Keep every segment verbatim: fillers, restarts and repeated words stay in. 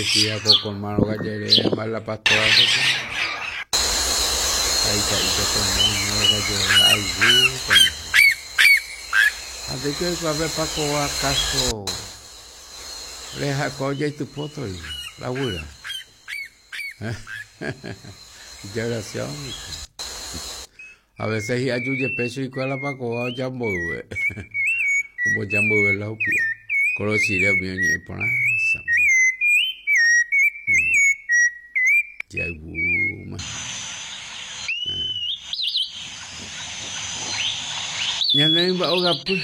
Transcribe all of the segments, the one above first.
Decía ko colmado gallere la pastora ahí está colmado gallere algo. Así que a ver Paco acaso le jacó ya tu poto y la abuela. Ya. A veces ya yuye pecho y cuál la Paco va ya mboyve. Como ya mboyve la upia. Kolochire mío ñe por Jaguma. Ñane ogapy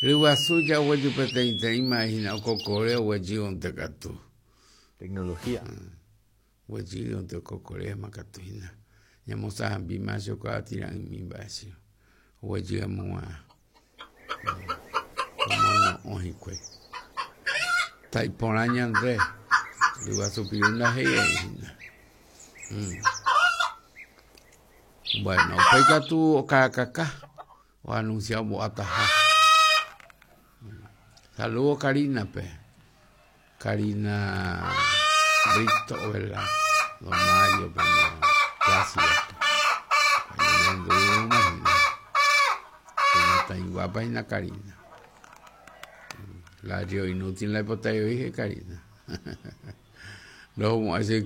ryguasu jaguejy peteĩteĩ imagina okokore oguejy ontekatu. Tecnología. Oguejy onte okokore katu hína. Ñamosãhambi macho kuaatyra'ỹmi mba'e oguejy amóva omono'õ hikuái. Ta'iporã ñande ryguasu piru ndahe'ieíhína. Bueno, upéi katu okarakaka oanuncia ombo'ataha. Saludos Karina-pe. Karina Brito, ¿verdad? Don Mario, Plácido. Está guapa hína Karina. La río inútil la dije Karina. Luego, así